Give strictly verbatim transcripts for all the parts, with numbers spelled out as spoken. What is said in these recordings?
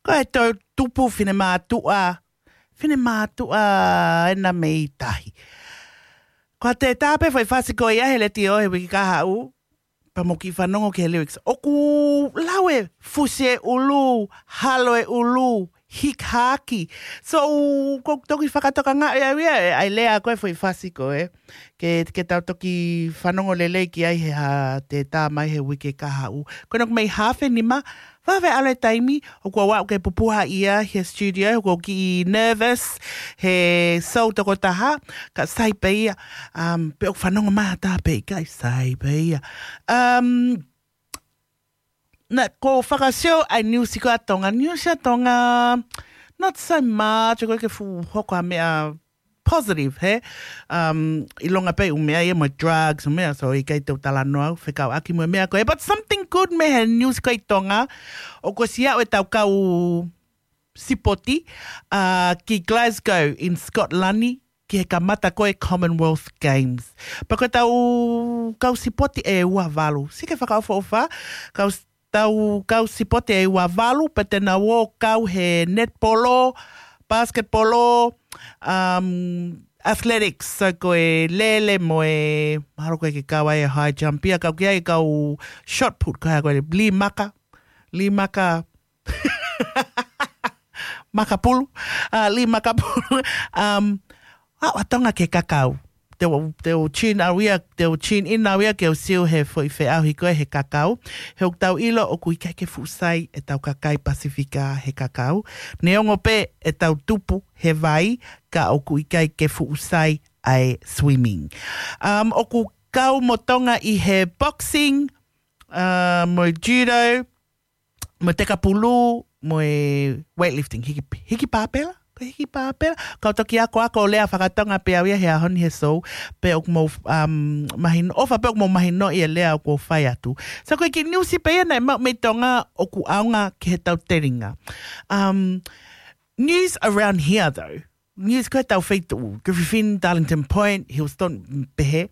Ko e toʻutupu finemātuʻa, finemātuʻa ena mei tahi. Ko e tētā pē foʻi fasi ko ia he letiō he uike kahaʻu, pea mou kiʻi fanongo ki he lyrics. ʻOku lau e fusi e ʻulu, halo e ʻulu, hikahaki. So, ʻoku ou toki fakatokangaʻi au ia, ʻa e lea ko ē foʻi fasi ko ē. Ke, ke tau toki fanongo lelei ki ai he hā tētā mai he uike kahaʻu. Ko ena ʻoku mei haafe nima, vave ʻalu e taimi, ʻoku ou aʻu ke pupuha ia he studio, ʻoku ou kiʻi nervous, he show tokotaha, ka sai pē ia, um, pe ʻoku fanongo mai ha taha pe ʻikai, sai pē ia. Um, na, ko e fakasio ʻa e niusi ko ē ʻa Tonga, niusi ʻa Tonga, not so much, ko e ke fuʻu hoko ha meʻa positive, he? Um, ʻilonga pē ʻū meʻa ia mo e drugs, ʻū meʻa, so ʻikai te u talanoa au, fekauʻaki mo e meʻa ko ē. But something good mei he niusi ko ē ʻi Tonga, ʻoku ʻosi aʻu ʻetau kau sipoti, uh, ki Glasgow in Scotland, ki he kamata ko ē Commonwealth Games. Pea ko ʻetau kau sipoti ʻe ua valu. Sio ki he fakaʻofoʻofa, kau s-, tau kau sipoti ʻe ua valu, pea te nau ō kau he netipolo, pasiketipolo, um, athletics, so ko e lele mo e, mahalo ko e ke kau ai e high jump ia, kau ki ai kau shot put, ko e hā ko e lī maka, lī maka, makapulu, uh, lī makapulu, um, aʻu ʻa Tonga ki he kakau. Te u, te u tune au ia, te u tune in au ia ke u sio he foʻi feʻauhi ko ē he kakau. He ʻoku tau ʻilo ʻoku ʻikai ke fuʻu sai ʻetau kakai Pasifika he kakau. Neongo pē ʻetau tupu he vai ka ʻoku ʻikai ke fuʻu sai ʻa e swimming. Um, ʻoku kau mo Tonga ʻi he boxing, uh, mo e judo, mo e tekapulu, mo e weightlifting, hiki, hiki pāpela, ko e hiki pāpela. Kau toki akoako ʻo lea fakatonga pē au ia he ʻaho ni he show, pe ʻoku mou, um, mahino, ʻofa pe ʻoku mou mahinoʻi e lea ʻoku ou fai atu. So ko e kiʻi niusi pē ia naʻe maʻu mei Tonga ʻoku ʻaonga ki heʻetau telinga. Um, news around here though. News ko ē ʻetau feituʻu, Griffin, Darlington Point, Hillston, pehē.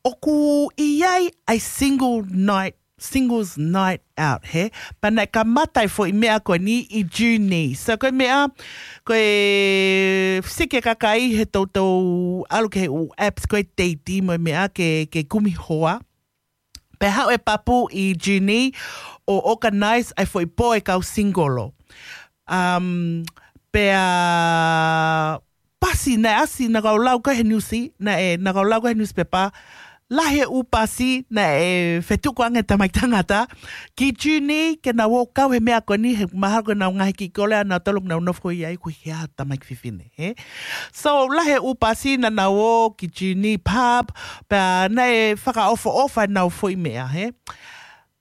ʻOku ʻi ai ʻa e single night, singles night out, he? Pea naʻe kamata e foʻi meʻa ko eni ʻi June. So ko e meʻa, ko e sike kakai he toutou ʻalu ki he ʻū apps ko e Date mo e meʻa ke, ke kumi hoa. Pea haʻu e papu ʻi June ʻo organize ʻa e foʻi pō e kau singolo. Um, pea pasi naʻe ʻasi naʻa kau lau ko ē he niusi, naʻe, naʻa kau lau ko ē he niusipepa, lahi e ʻū pasi naʻe fetuku ange tamaiki tangata ki June ke nau ō kau he meʻa ko eni he mahalo ko ʻenau ngaahi kiʻi kole ʻanautolu ʻoku nau nofo ʻi ai, ʻoku ʻikai ha tamaiki fefine, he? So, lahi e ʻū pasi naʻa nau ō ki June pub, pea naʻe fakaʻofoʻofa ʻenau foʻi meʻa, he?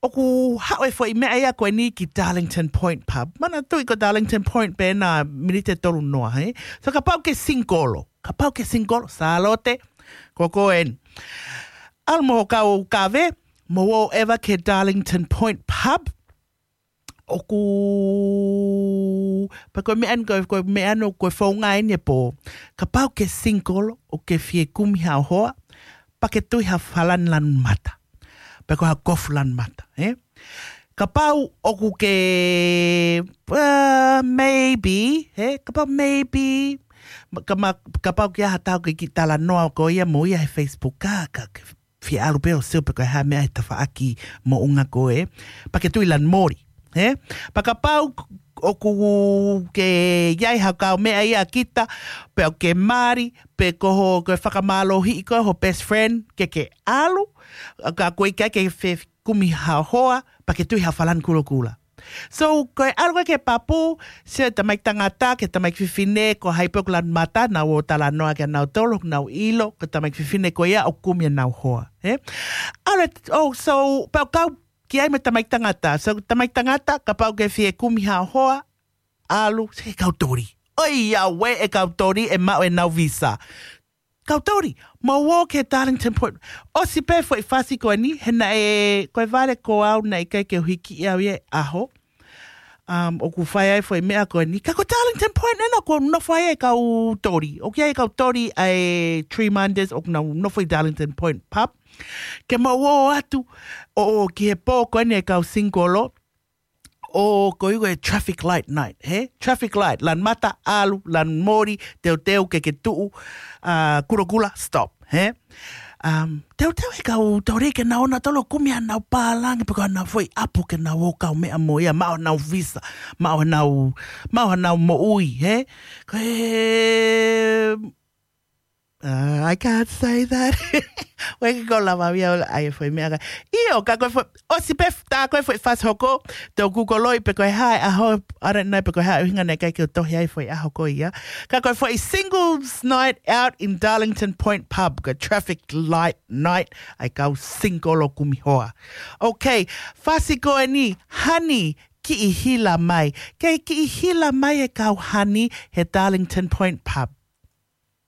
ʻOku haʻu e foʻi meʻa ia ko eni ki Darlington Point pub. Manatuʻi ko Darlington Point pē ena miniti ʻe tolu noa, he? So kapau ke singolo, kapau ke singolo, Sālote, ko koe eni. ʻAlu mo ho kau kave, mou ō ʻeva ki Darlington Point pub, ʻoku, pea ko e meʻa eni, ko e, ko e meʻa eni, ko e founga eni e pō. Kapau ke singolo, ʻoku ke fie kumi haʻo hoa, pea ke tui ha falani lanu mata. Pe ko ha kofu lanu mata, he? Kapau ʻoku ke, uh, maybe, he? Kapau maybe, ma-, ka ma-, kapau ke ʻi ai ha taha ʻoku ke kiʻi talanoa ko ia mo ia he Facebook, ka, ka, ke fie ʻalu pē ʻo sio pe ko e hā e meʻa he tafaʻaki moʻunga ko ē. Pea ke tui lanu moli, he? Pea kapau ʻoku ke ʻi ai ha kau meʻa ia kita, pe ʻoku ke mali, pe ko ho, ko e fakamālohiʻi ko ē ho best friend, ke ke ʻalu, ka ko e ʻikai ke fie kumi haʻo hoa, pea ke tui ha falani kulokula. So, ko e ʻalu ko ē ki he papu, sio e tamaiki tangata, ki he tamaiki fefine, ko hai pē ʻoku lanu mata, nau ō ʻo talanoa kia nautolu, nau ʻilo, ko e tamaiki fefine ko ia ʻoku kumi ʻenau hoa, he? ʻAlu, oh, so, pea kau ki ai mo e tamaiki tangata. So, tamaiki tangata, kapau ke fie kumi haʻo hoa, ʻalu, sio ki he kau toli. ʻOiauē e kau toli ʻe maʻu ʻenau visa. Kau toli, mou ō ki Darlington Point. ʻOsi pē foʻi fasi ko eni, he naʻe, ko e vale ko au naʻe ʻikai ke u hiki au ia he ʻaho. Um, ʻoku fai ai foʻi meʻa ko eni. Ka ko Darlington Point ena ʻoku nofo ai e kau toli. ʻOku ʻi ai e kau toli ʻa e Tremonders ʻoku nau nofo ʻi Darlington Point pub. Ke mou ō atu, ʻo, ʻo ki he pō ko eni e kau singolo. ʻo ko ia ko e traffic light night, hē? Traffic light, lanu mata, ʻalu, lanu moli, teuteu ke ke tuʻu, ʻa, kulokula, stop, hē? Um, teuteu he kau tōrei ke nau ō nautolu ʻo kumi haʻanau pālangi pe ko haʻanau foʻi ʻapu ke nau ō ʻo kaumeʻa mo ia, maʻu haʻanau visa, maʻu haʻanau, maʻu haʻanau moʻui, hē? Ko e, uh, I can't say that. ʻOku ʻikai ke u lava ia ʻo ʻai e foʻi meʻa ka. ʻIo, ka ko e foʻi, ʻosi pē tā ko e foʻi fasi hoko, tau Google-ʻi pe ko e hā e ʻaho, ʻarenai pe ko e hā e ʻuhinga naʻe ʻikai ke u tohi ai e foʻi ʻaho ko ia. Ka ko e foʻi singles night out in Darlington Point Pub, ko e traffic light night, ʻa e kau single ʻo kumi hoa. Okay, fasi ko eni, Honey, Kiʻi Hila Mai. Kei kiʻi hila mai e kau Honey he Darlington Point Pub.